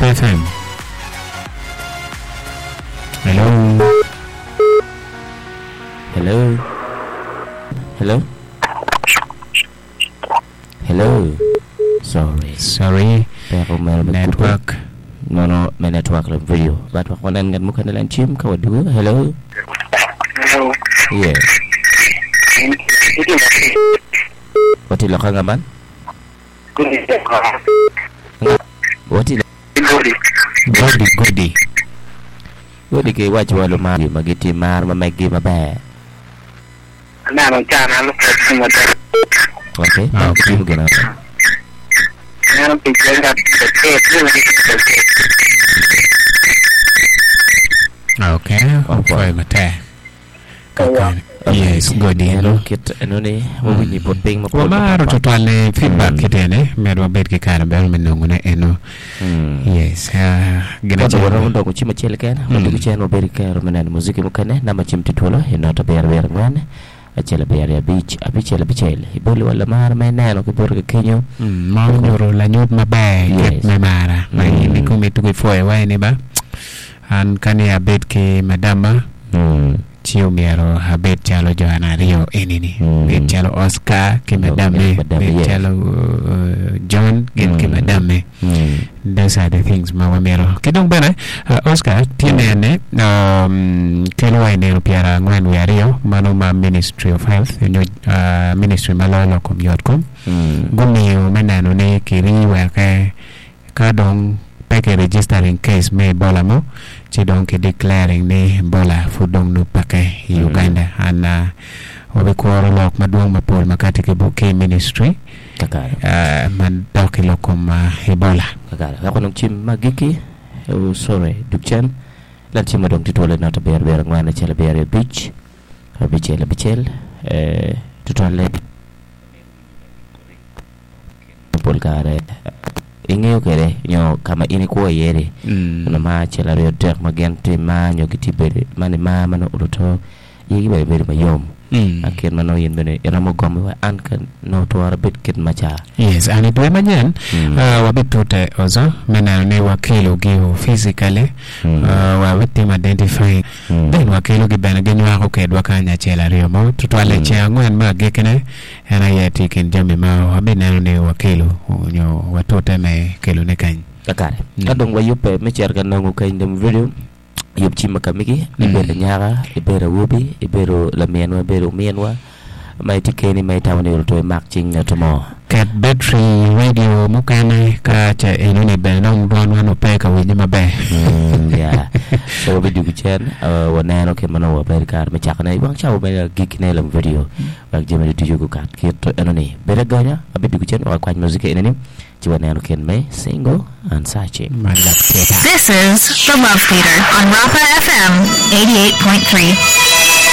Rapa FM. Hello. Hello. Hello. Hello. Sorry. Sorry. Peko meno me Network. Nono me network lem video. But wek wanen ngat mukene len cim ka wadugo. Hello. Hello. Yeah. Wati loka nga man? Wati Godi. Godi godi. Godi ki wac wa lumar ma gitye mar ma meggi maber. Aneno can an lupwod ki matek. Okay. Ah, okay. Gitimo gin ango? Aneno pi cen ka acel tye ma gitye ka acel. Okay. Opwoyo matek. Kakare. Yes, godi Eno eno. kit eno ni wawinyo i but piny mapol Wamaro mapatpat. tutwal ni feedback kit ene med wabed ki kare bene me nongone eno. Yes, ah, gin Ka acel. waromo doko cim acel keken, wadwogo cen wabedo ki kero me neno muziki mukene. Namba cim tye twolo i not abiro abiro angwen, acel abiro aryo abic, abicel abicel. Iboli wa lamar ma ineno ki boti kenyo. Mm, ma onyuto lanyut maber i kit Yes. me mara ma in ikomi tuko ipwoyo wa ni ba an ka ni abed ki madamma ci omyero abed calo jo an aryo eni-ni, bed calo Oscar ki madamme, bed calo John gin ki madamme. Those are the things ma wamito. Ki dong bene Oscar tye nene kelo wa i nino pyerangwen wiye aryo mano ma Ministry of Health nyo ministry ma loyo lok kom yot kom gumiyo me neno ni kiri weke Ka dong pe ki registering case me Ebola mo, ci dong ki declaring ni Ebola pud dong nongo peke i Uganda. And wabikuro lok madwong mapol ma kati ki ki ministry Kakare. ma dok i lok kom Ebola. Kakare. Wek onong cim ma agikki, oh sorry, dug cen. Lan cim ma dong tye twolo i not abiro abiro angwen acel abiro abic abicel abicel eh, tutwalle. Pol kare ingeyo kwede nyo ka ma in ikwo iye-ni, nyo mar acel aryo adek ma gin tye mar nyo gitye bedo ma ni mar ma nongo oluto igi bene bedo mayom. A kit ma nongo in bene iromo gomo wa an ka nongo twero abed kit maca. Yes, and i dwe manyen wabitute ozo me neno ni wakelogi physically, wabitimo identifying, then wakelogi bene ginywako kedwa kany acel aryo mo, tutwalle i ceng angwen me agikkine. En aye tye i kin jami ma wabineno ni wakelo nyo watute me kelone kany. Kakare, ka dong wayubbe me cito ka nongo keny dong video, yub cim ma ka megi, ibedo anyaka, ibedo awobi, ibedo laminwa, ibedo ominwa ma itye keni ma itamo ni oroto imak cing ngat mo. Ket battery i radio mukene ka ce enoni bene dong dwanwa nongo pe ka winye maber. Yeah. So wabidwogo cen, waneno kit ma nongo wabedo kare me cakone i wang cawa me agikkine i video. Wek jami ducu gukat kit eno ni. Bed agonya, abidwogo cen wek akwany muzika eni ni ci waneno kin me Single and Searching. Man lok tita. This is The Love Theater on Rafa FM 88.3.